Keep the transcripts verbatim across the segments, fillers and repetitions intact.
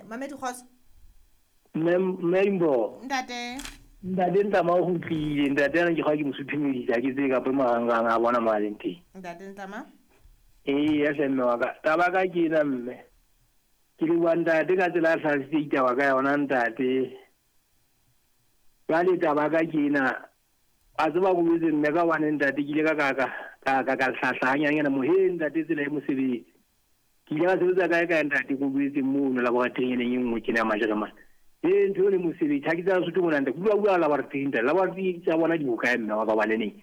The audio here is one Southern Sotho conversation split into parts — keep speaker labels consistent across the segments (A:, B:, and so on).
A: Eh Mamedi Kgotso.
B: Mme mme Mbo.
A: Ntate.
B: Ntate Ntlama o kgutlile, ntate ana ke kgwa ke mosuthumedisa ke tse kapa marangrang a bona mo a leng teng.
A: Ntate Ntlama.
B: Ee, ya hle mme wa ka. Taba ka ke ena mme. Ke leboha ntate ka tsela a hlalositse ditaba ka yona ntate. Jwale taba ka ke ena. A tseba ko jwetse mme ka hobane ntate ke ile ka ka ka ka ka ka hlahla hanyane mo he ntate tsela e mosebetsi. Ke ile ka sebetsa kae kae ntate ko jwetse mono laboratory e neng e nngwe tjena ya Majeremane. E ntho e le mosebetsi ha ke tsaya Sotho mona ntate. Bua bua laboratory ntate. Laboratory tsa bona di bokae mme wa ka hobane neng.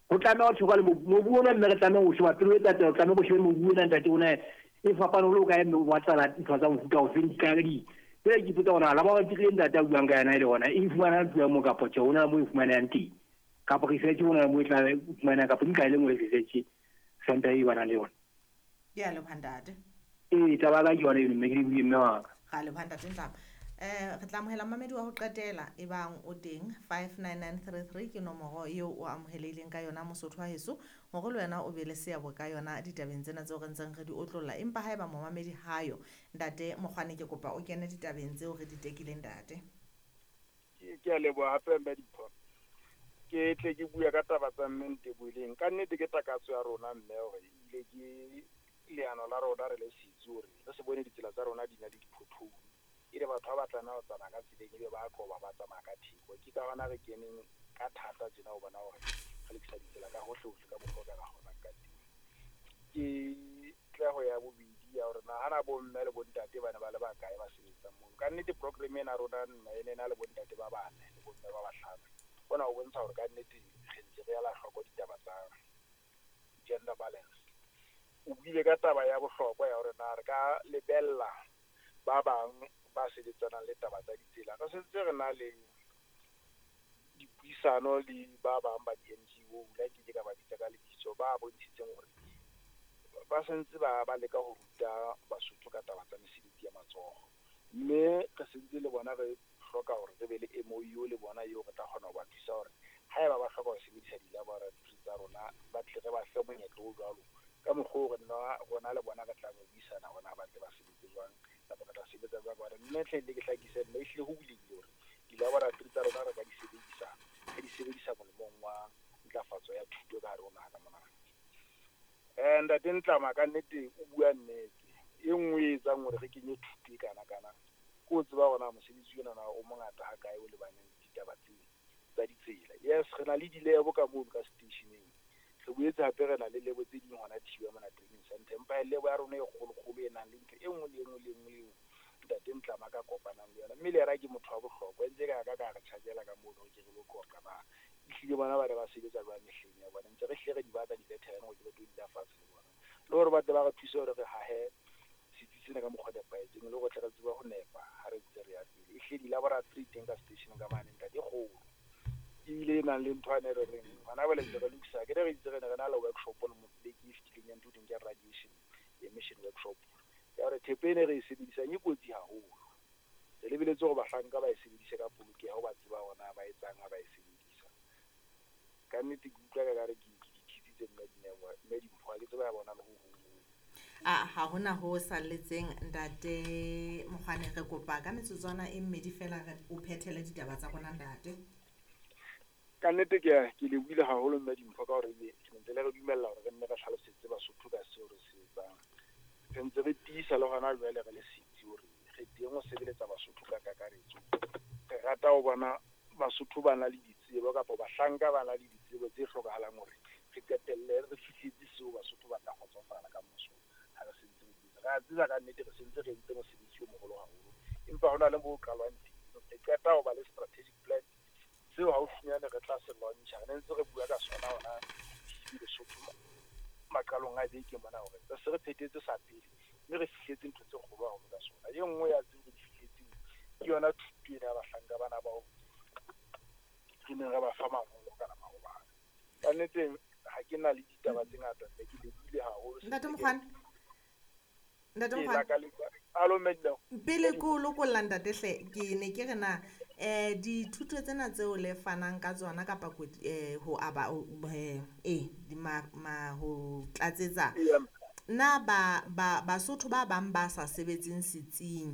B: Ho tlameha ho thekwa le mobu mobu ona mme re tlameha ho sheba pele o etsa taba, tlameha ho shebe mobu ona ntate ona e fapane ho le hokae mme o batla ntho tsa mofuta ofeng di ka di. Jwale ke ipotsa hore laboratory e ntate a buang ka yona e le hona e fumana tloha moo kapa tjhe hona moo e fumanehang teng. Kapa research hona moo e tla fumaneha kapa di kae le nngwe research center e banang le yona.
A: Ke a leboha ntate.
B: Ee, taba ya ka ke yona eno mme ke lebohile mme wa ka.
A: Ra leboha ntate Ntlama. Eh re tla amohela mamedi wa ho qetela e bang o teng five nine nine three three ke nomoro eo o amohelehileng ka yona Mosotho wa heso hore le wena o be le seabo ka yona ditabeng tsena tseo re ntseng re di otlolla empa haeba momamedi hayo ntate Mokgwane ke kopa o kene ditabeng tseo re di tekileng ntate.
C: Ke ke a leboha hape mme Dimpho. Ke tle ke bua ka taba tsa mme Nteboileng. Ka nnete ke takatso ya rona mme hore ebile ke leano la rona re le setsi hore re se bone ditsela tsa rona di na le diphotholo. E le batho ba batlang ho tsamaya ka tseleng ebe ba qoba ba tsamaya ka theko. Ke ka hona re keneng ka thata tjena ho bona hore re lokisa ditsela ka hohle hohle ka mokgwa o ka kgonang ka teng. Ke tleho ya bobedi ya hore nahana bo mme le bontate ba ne ba le bakae ba sebetsang mono. Ka nnete program ena rona nna e ne na le bontate ba bane le bomme ba bahlano. Hona ho bontsha hore ka nnete re ntse re ela hloko ditaba tsa gender balance. O buile ka taba ya bohlokwa ya hore na re ka lebella ba bang ba sebetsanang le taba tsa ditsela. Re sentse re na le dipuisano le ba bang ba di-N G O, la ke ke ka ba bitsa ka lebitso, ba bontshitseng hore ba sentse ba ba leka ho ruta Basotho ka taba tsa mesebetsi ya matsoho. Mme re sentse le bona re hloka hore re be le M O U le bona eo re tla kgona ho ba thusa hore haeba ba hloka ho sebedisa di-laboratory tsa rona, ba tle re ba fe monyetla o jwalo. Ka mokgwa oo re nna rona le bona re tla buisana hore na ba tle ba sebetse jwang kapa re tla sebetsa jwang. Hobane mme hle le ke hlakise mme ehlile ho bulehile hore di-laboratory tsa rona re ka di sebedisa, re di sebedisa molemong wa ntlafatso ya thuto ka hare ho naha ka mona. Eh, Ntate Ntlama ka nnete o bua nnete. E nngwe e etsang hore re kenye thuto e kana kana ke ho tseba hore na mosebetsi ona na o mongata ha kae o lebaneng le ditaba tse tsa ditsela. Yes, re na le di-lab ka mono ka seteisheneng. Re boetse hape re na le lebo tse ding hona Thiba mona training center. Empa lebo ya rona e kgolokgolo e nang le ntho e nngwe le e nngwe le e nngwe eo ntate Ntlama ka kopanang le yona. Mme le yena ke motho wa bohlokwa, ntse ka ka ka re tjhakela ka mono ke re lo qoqa na. Ehlile bona ba ne ba sebetsa jwang mehleng ya bona. Ntse re hlile re di batla di-veteran hore ke re tlo dula fatshe le bona. Le hore ba tle ba re thuse hore re hahe setsi sena ka mokgwa o nepahetseng, le hore tle re tsebe ho nepa ha re ntse re ya pele. Ehlile di-laboratory teng ka seteisheneng ka mane ntate e kgolo. Ebile e nang le ntho ane re reng hona jwale ntse re lokisa, ke re re itse re ne re na le workshop le mo beke e fetileng ya ntho e thweng ke radiation emission workshop. Ya hore thepa ena e re e sebedisang e kotsi haholo. Re lebeletse hore bahlanka ba e sebedise ka polokeho, ba tseba hore na ba etsang ha ba e sebedisa. Ka nnete ke utlwa ka re ke ke di thitsitse mme Dineo, mme Dimpho ha ke tsebe ya bona le ho hong.
A: A ha hona ho salletseng ntate Mokgwane, re kopa ka metsotswana e mmedi fela re o phethele ditaba tsa rona ntate.
C: Ka nnete ke a, ke lebohile haholo mme Dimpho ka hore ebe re ntse le re dumella hore re nne re hlalosetse Basotho ka seo re se etsang. Re ntse re tiisa le hona jwale re le setsi hore re teng ho sebeletsa Basotho ka kakaretso. Re rata ho bona Basotho ba na le ditsebo kapa bahlanka ba na le ditsebo tse hlokahalang hore re qetelle re fihletse seo Basotho ba tla kgotsofala ka moso ha re sentse re di etsa. Re a tseba ka nnete re sentse re entse mosebetsi o moholo haholo, empa hona le moo o qalwang teng. Re qeta ho ba le strategic plan seo haufinyane re tla se launch-a. Re ne ntse re bua ka sona hona T V Lesotho maqalong a beke mona hore re se re phethetse sa pele mme re fihletse ntho tse kgolo haholo ka sona. E nngwe ya tseo re di fihletseng ke yona thuto ena ya bahlanka bana bao re neng re ba fa mangolo kana maobane. Ka nnete ha ke na le ditaba tse ngata, mme ke lebohile haholo.
A: Ntate Mokgwane. Ntate
C: Ke
A: Mokgwane.
C: lakaletsa. Alo, mme Dineo.
A: Pele ke o lokolla ntate hle, ke ne ke re na eh dithuto tsena tseo le fanang ka tsona kapa ko, eh, ho aba, ho, eh, eh, di ma, ma, ho tlatsetsa.
C: Ee.
A: Na ba, ba, Basotho ba bang ba sa sebetseng setsing